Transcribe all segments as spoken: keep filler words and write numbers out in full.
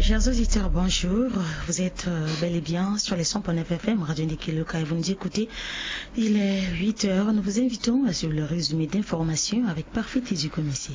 Chers auditeurs, bonjour. Vous êtes euh, bel et bien sur les cent point neuf F M, Radio Ndiki Loka, et vous nous écoutez. Il est huit heures. Nous vous invitons à suivre le résumé d'informations avec Parfait Tézu Komessi.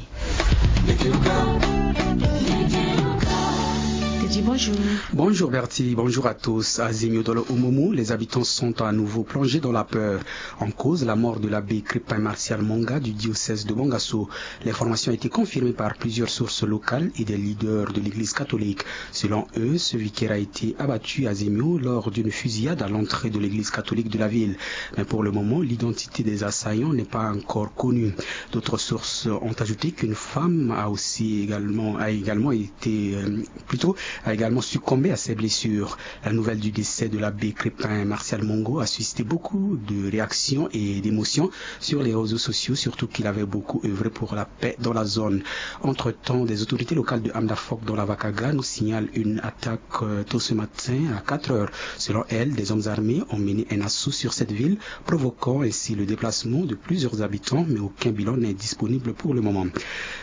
Tézu, bonjour. Bonjour Bertie, bonjour à tous. À Zemio dans le Homomo, les habitants sont à nouveau plongés dans la peur. En cause, la mort de l'abbé Crépin Martial Monga du diocèse de Bangasso. L'information a été confirmée par plusieurs sources locales et des leaders de l'Église catholique. Selon eux, ce vicaire a été abattu à Zemio lors d'une fusillade à l'entrée de l'église catholique de la ville. Mais pour le moment, l'identité des assaillants n'est pas encore connue. D'autres sources ont ajouté qu'une femme a aussi également, a également été, euh, plutôt, a également succombé à ses blessures. La nouvelle du décès de l'abbé Crépin Martial Mongo a suscité beaucoup de réactions et d'émotions sur les réseaux sociaux, surtout qu'il avait beaucoup œuvré pour la paix dans la zone. Entre-temps, des autorités locales de Hamdafok dans la Vakaga nous signalent une attaque euh, tôt ce matin à quatre heures. Selon elles, des hommes armés ont mené un assaut sur cette ville, provoquant ainsi le déplacement de plusieurs habitants, mais aucun bilan n'est disponible pour le moment.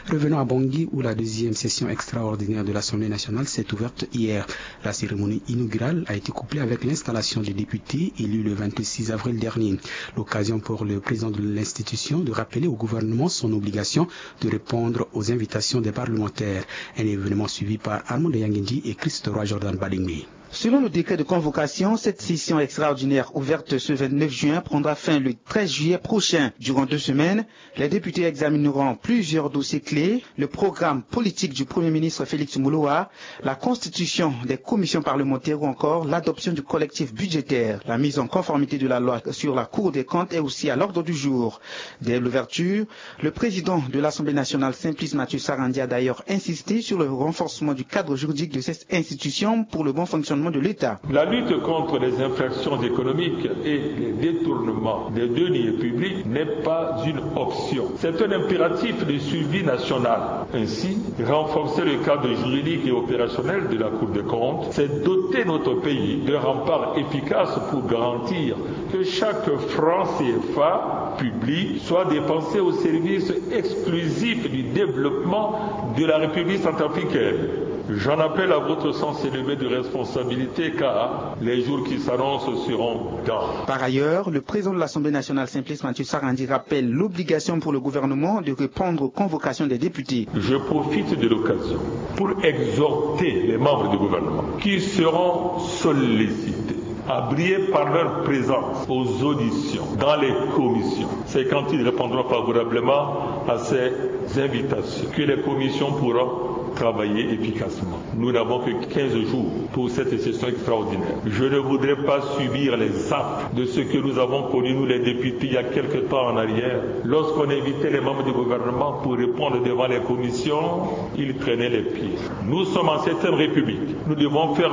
Revenons à Bangui, où la deuxième session extraordinaire de l'Assemblée nationale s'est ouverte hier. La cérémonie inaugurale a été couplée avec l'installation des députés élus le vingt-six avril dernier. L'occasion pour le président de l'institution de rappeler au gouvernement son obligation de répondre aux invitations des parlementaires. Un événement suivi par Armand Yangindi et Christ Roy Jordan Balingui. Selon le décret de convocation, cette session extraordinaire ouverte ce vingt-neuf juin prendra fin le treize juillet prochain. Durant deux semaines, les députés examineront plusieurs dossiers clés, le programme politique du Premier ministre Félix Moloua, la constitution des commissions parlementaires ou encore l'adoption du collectif budgétaire. La mise en conformité de la loi sur la Cour des comptes est aussi à l'ordre du jour. Dès l'ouverture, le président de l'Assemblée nationale, Simplice Mathieu Sarandji, a d'ailleurs insisté sur le renforcement du cadre juridique de cette institution pour le bon fonctionnement de l'État. La lutte contre les infractions économiques et les détournements des deniers publics n'est pas une option. C'est un impératif de suivi national. Ainsi, renforcer le cadre juridique et opérationnel de la Cour des comptes, c'est doter notre pays d'un rempart efficace pour garantir que chaque franc C F A public soit dépensé au service exclusif du développement de la République centrafricaine. J'en appelle à votre sens élevé de responsabilité, car les jours qui s'annoncent seront denses. Par ailleurs, le président de l'Assemblée nationale, Simplice Mathieu Sarandji, rappelle l'obligation pour le gouvernement de répondre aux convocations des députés. Je profite de l'occasion pour exhorter les membres du gouvernement qui seront sollicités à briller par leur présence aux auditions dans les commissions. C'est quand ils répondront favorablement à ces invitations que les commissions pourront travailler efficacement. Nous n'avons que quinze jours pour cette session extraordinaire. Je ne voudrais pas subir les affres de ce que nous avons connu, nous les députés, il y a quelque temps en arrière, lorsqu'on invitait les membres du gouvernement pour répondre devant les commissions, ils traînaient les pieds. Nous sommes en septième République. Nous devons faire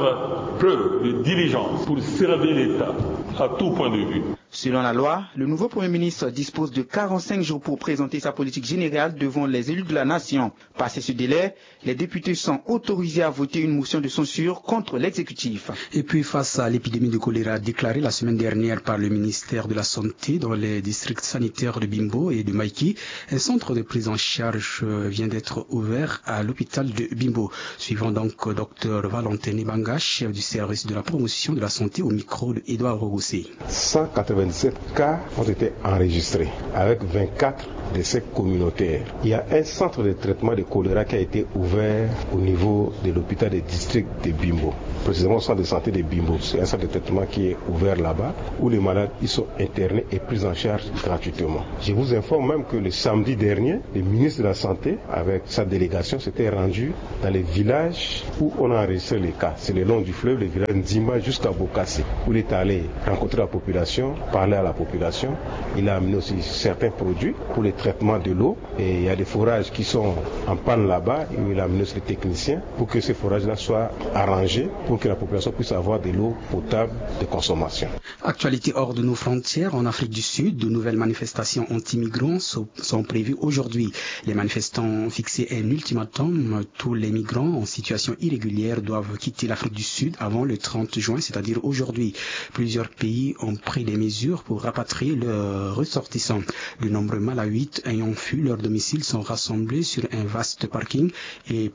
preuve de diligence pour servir l'État à tout point de vue. Selon la loi, le nouveau Premier ministre dispose de quarante-cinq jours pour présenter sa politique générale devant les élus de la nation. Passé ce délai, les députés sont autorisés à voter une motion de censure contre l'exécutif. Et puis, face à l'épidémie de choléra déclarée la semaine dernière par le ministère de la Santé dans les districts sanitaires de Bimbo et de Maïki, un centre de prise en charge euh, vient d'être ouvert à l'hôpital de Bimbo. Suivant donc Dr Valentin Ebanga, chef du service de la promotion de la santé, au micro de Edouard Rogossé. Cent quatre-vingt-dix-sept cas ont été enregistrés, avec vingt-quatre décès communautaires. Il y a un centre de traitement de choléra qui a été ouvert au niveau de l'hôpital de district de Bimbo. Précisément au centre de santé de Bimbo. C'est un centre de traitement qui est ouvert là-bas, où les malades ils sont internés et pris en charge gratuitement. Je vous informe même que le samedi dernier, le ministre de la Santé, avec sa délégation, s'était rendu dans les villages où on a enregistré les cas. C'est le long du fleuve, le village Nzimba jusqu'à Bokassi, où il est allé rencontrer la population, parler à la population. Il a amené aussi certains produits pour le traitement de l'eau. Et il y a des forages qui sont en panne là-bas, où il a amené aussi les techniciens pour que ces forages-là soient arrangés, pour que la population puisse avoir de l'eau potable de consommation. Actualité hors de nos frontières, en Afrique du Sud, de nouvelles manifestations anti-migrants sont, sont prévues aujourd'hui. Les manifestants ont fixé un ultimatum. Tous les migrants en situation irrégulière doivent quitter l'Afrique du Sud avant le trente juin, c'est-à-dire aujourd'hui. Plusieurs pays ont pris des mesures pour rapatrier leurs ressortissants. De nombreux Malawites ayant fui leur domicile sont rassemblés sur un vaste parking et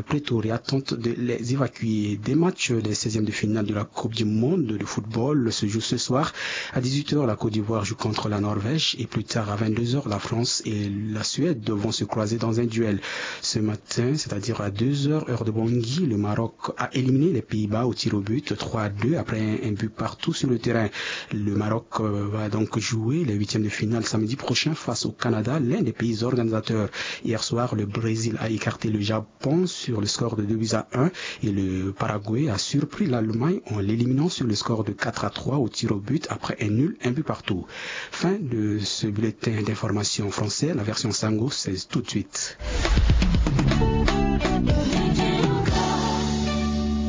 Pretoria tente de les évacuer. Des matchs des seizièmes de finale de la Coupe du Monde de football se jouent ce soir. À dix-huit heures, la Côte d'Ivoire joue contre la Norvège et plus tard à vingt-deux heures, la France et la Suède vont se croiser dans un duel. Ce matin, c'est-à-dire à deux heures, heure de Bangui, le Maroc a éliminé les Pays-Bas au tir au but, trois à deux, après un, un but partout sur le terrain. Le Maroc, euh, va donc jouer les huitièmes de finale samedi prochain face au Canada, l'un des pays organisateurs. Hier soir, le Brésil a écarté le Japon sur le score de deux buts à un et le Paraguay a surpris l'Allemagne en l'éliminant sur le score de quatre à trois au tir au but après un nul, un but partout. Fin de ce bulletin d'information français, la version Sango, c'est tout de suite.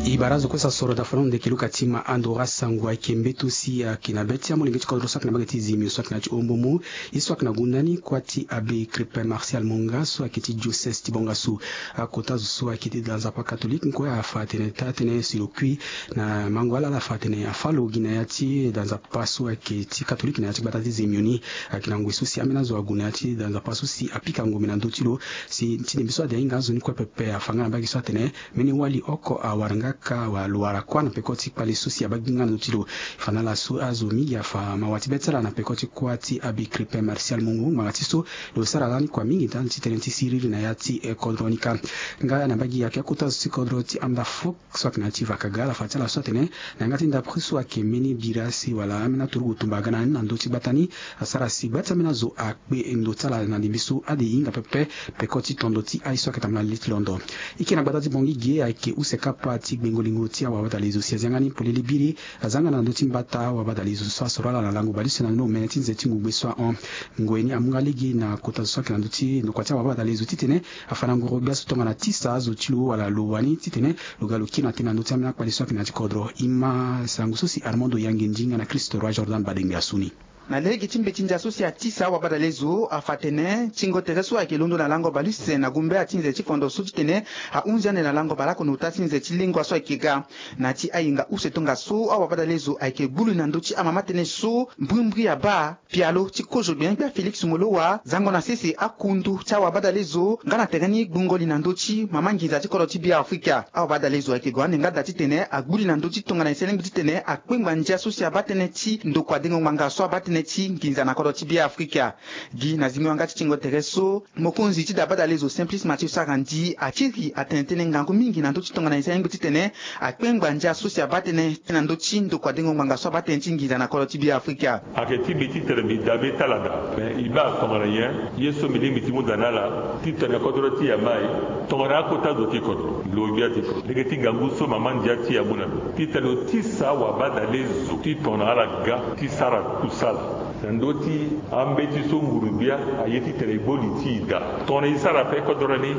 E bara azo kue so asoro daa fana lo ndeke luka ti ma ando ra sango ayeke mbeti so si ayeke na be ti amolenge ti kodro so ayeke na mbage ti Zemio so ayeke na ya ti Ombomo. Ye so ayeke na gunda ni kuâ ti abbé Crépin Martial Monga so ayeke ti diocèse ti Bangassou. Akota zo so ayeke ti da nzapa catholique kue afa atene taa tënë si lo kui na mango ala, ala fa atene afa lo gi na ya ti da nzapa so ayeke ti catholique na ya ti gbata ti Zemio ni. Ayeke na ngoi so si ambeni azo ague na ya ti da nzapa so si apika ngombe na ndö ti lo. Si ti ndembe so ade ahinga azo ni kue pepe afa nga na mbage so atene mbeni wali oko awara nga kâ wala lo wara kuâ na peko ti kpale so si abaa gi nga na ndö ti lo. E fa na ala so azo mingi afa mawa ti be ti ala na peko ti kuâ ti abbé Crépin Martial Monga ngbanga ti so lo sara lani kua mingi ndali ti tënë ti siriri na ya ti, eh, kodro ni kâ. Nga na mbage ayeke akota zo ti kodro ti Amda Fok so ayeke na ya ti Vakaga ala fa ti ala so atene na yanga ti ndapre so ayeke mbeni bira si wala ambeni aturugu tumba aga na ni na ndö ti gbata ni. Asara si gba ti ambeni azo akpe ndo ti ala na ndembe so ade e hinga pepe peko ti tondo ti aye so ayeke tambula na le ti londo. E yeke na gbata ti Bangui ge ayeke use kapa ti gbengo lingo ti awabadalezo si azia nga ni polele biri. Aza nga na ndö ti mbata awabadalezo so asoro ala na lango baleuse na ni omene ti nze ti ngugbe so ahon. Ngoi ni amu nga lege na kota zo so ayeke na ndö ti ndokua ti awabadalezo titene afa na ngoro gbia so tongana tisa azo ti lo wala lo wani titene lo ga lo kiri na tënë na ndö ti ambeni akpale so ayeke na ya ti kodro. E ma sango so si Armando Yangendi nga na Christ Roi Jordan Badengbe asu ni. Na lege ti mbeti ndia so si atisa awabadalezo afa atene tingo tere so ayeke londo na lango baleuse na gumbea ti nze ti fondo so titene ahunzi ande na lango baleoko na ota ti nze ti lengua so ayeke ga. Na ya ti ahinga use tongaso awabadalezo ayeke gbu li na ndö ti amama tënë so mbrimbri abaa pialo ti kozo gbenyogbia Félix Moloua zango na sese akundu ti awabadalezo nga na tere ni gbungo li na ndö ti mama nginza ti kodro ti Beafrika. Awabadalezo ayeke gue ande nga daa titene agbu li na ndö ti tongana e sara lingbi titene akpengba ndia so si abaa tënë ti ndokua dengo ngbanga so abaa tënë ti nginza na kodro ti Beafrika. Gi na zingo yanga ti tingo tere so mokonzi ti da badalezo Simplice Mathieu Sarandji akiri atene tënë ngangu mingi na ndö ti tongana e sara lingbi titene akpengba ndia so si abaa tënë na ndö ti ndokua dengo ngbanga so abaa tënë ti nginza na kodro ti Beafrika. Ayeke ti mbi titene mbi daa be ti ala daa. Me e baa tongana nyen ye so mbi lingbi ti mu daa na ala titene kodro ti e amai tongana akota zo ti kodro lo gbia ti kodro lege ti ngangu so mama ndia ti e amu na lo titene lo tisa wabadalezo ti tongana ala ga ti sara kusala. Na ndö ti ambeti so nguru-gbia aye titene e gbo li ti e daa tongana e sara ape kodro ni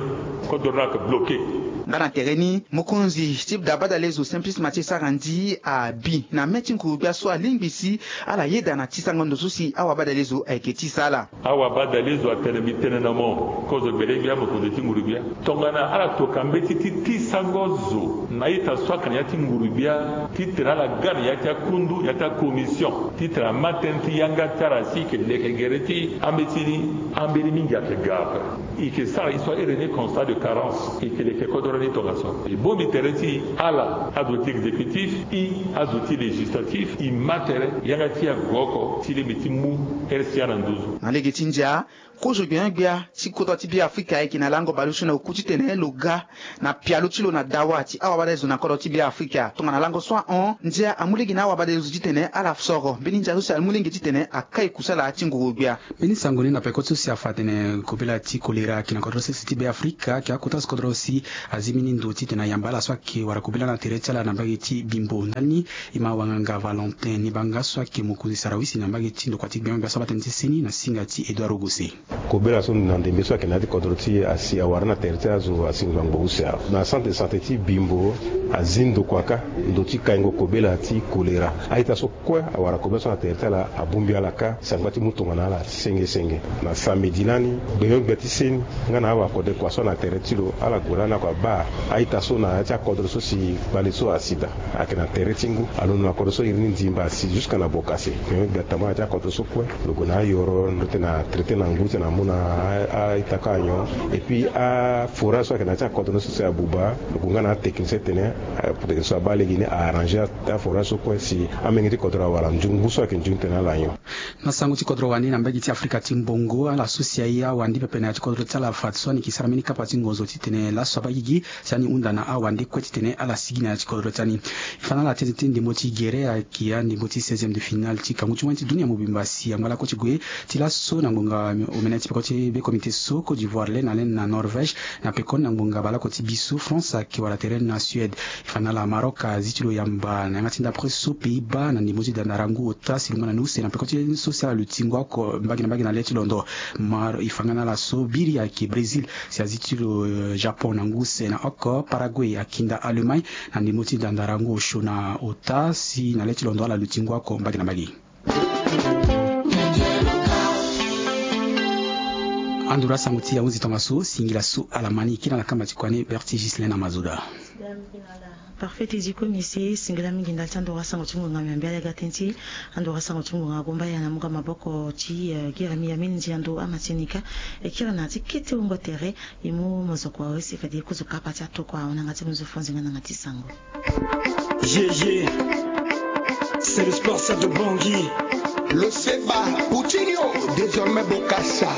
kodro ni ayeke bloke. Nga na tere ni mokonzi ti da badalezo Simplice Mathieu Sarandji abi na mê ti nguru-gbia so alingbi si ala yeda na tisango ndo so si awabadalezo ayeke tisa ala. Awabadalezo atene mbi tene na mo kozo gbele-gbia mokonzi ti nguru-gbia tongana ala toka mbeti ti tisango zo na ita so ayeke na ya ti nguru-gbia titene ala ga na ya ti akundu ya ti akomision titene ama tënë ti yanga ti ala si e yeke leke gere ti ambeti ni. Ambeni mingi ayeke ga ape. E yeke sara e so ahere ni constat de carence e yeke leke kodoro ni tongaso e bongbi tere ti ala azo ti exécutif e azo ti législatif e ma tere yanga ti e ague oko ti lingbi ti mu ere si ala na nduzu. Na lege ti ndia kozo gbia-gbia ti kodro ti Beafrika ayeke na lango baleuse na oku titene lo ga na pialo ti lo na dawa ti awabadalezo na kodro ti Beafrika tongana lango so ahon ndia amu lege na awabadalezo titene ala soro mbeni ndia so si amu lege titene akai kusala ti nguru-gbia. Mbeni sango ni na peko ti so si afa atene kobela ti kolera ayeke na kodro sese ti Beafrika ayeke akota so kodro si azi mbeni ndo titene ayamba ala so ayeke wara kobela na tere ti ala na mbage ti Bimbo ndani. E ma wanganga Valentin Nibanga so ayeke mokonzi sarawisi na mbage ti ndokua ti gbengbe so abaa tënë ti seni na singa ti Edouard Ogose. Kobela so na ndembe so ayeke na ya ti kodro ti e asi awara na tere ti azo asi ngbangbo use awe na centre de santé ti Bimbo. Azi ndokua kâ ndo ti kaingo kobela ti kolera. A-ita so kue awara kobela so na tere ti ala abongbi ala kâ sangba ti mu tongana ala senge senge. Na samedi lani gbenyo-gbia ti seni nga na awakode kua so na tere ti lo ala gue lani ako abaa A-ita so na ya ti akodro so si gbale so asi daa ayeke na tere ti ngu, alondo na kodro so iri ni ndimba asi jusque na bokase. Me gbia tama na ya ti akodro so kue lo gue na ayoro ndö tene na traité na ngu titene amu na a-ita kâ anyon. Et puis aforage so ayeke na ya ti akodro ni so si abuba, lo gue nga na atechnicien titene, eh, technicien so abaa lege ni a-arranger aforage so kue si amenge ti kodro awara nzoni ngu so ayeke nzoni titene ala nyon. Na sango ti kodro wande na mbage ti Afrika ti mbongo, ala so si aye awande pepe na ya ti kodro ti ala fadeso ani yeke sara mbeni kapa ti ngonzo titene laso abaa gigi si ani hunda na awande kue titene ala sigi na ya ti kodro ti ani. E fa na ala tënë ti ndembo ti gere ayeke andembo ti seizième de finale ti kangu ti wani ti dunia mobimba si angba lakue ti gue ti laso na ngonga omene ti peko ti be comité so Côte d'Ivoire lê na lê na Norvège, na pekoni na ngonga baleoko ti bi so France ayeke wara tere na Suède. E fa na ala Maroc azi ti lo yamba na yanga ti ndapre so Pays-Bas na ndembo ti dandarangu ota si lo ma na ni use na peko ti so si ala luti ngu oko mbage na mbage na lê ti londo. Mar e fa nga na ala so biri ayeke Brésil si azi ti lo, eh, Japon na ngu use na oko. Paraguay akinda Allemagne na ndembo ti dandarangu osio na ota si na lê ti londo ala luti ngu oko mbage na mbage. Anduru asango ti ahunzi tongaso singila so ala ma ni kiri na kamba ti kua ni Berti Ghislain na Mazoda. Parfait ti zi kue misi singila mingi ndali ti anduru asango ti ngonga miambe ala ga tënë ti anduru asango ti ngonga agomba ya na muka maboko ti, eh, gira mi ya minzi ando ama ti nika. E kiri na ti kete wungo tere. E mu mozoko awe si fade e kuzu kapa ti atokua awe na yanga ti muzu fo nzenga na yanga ti sango. Yeye. C'est le sport ça de Bangui. Lo seba Coutinho, désormais Bokassa.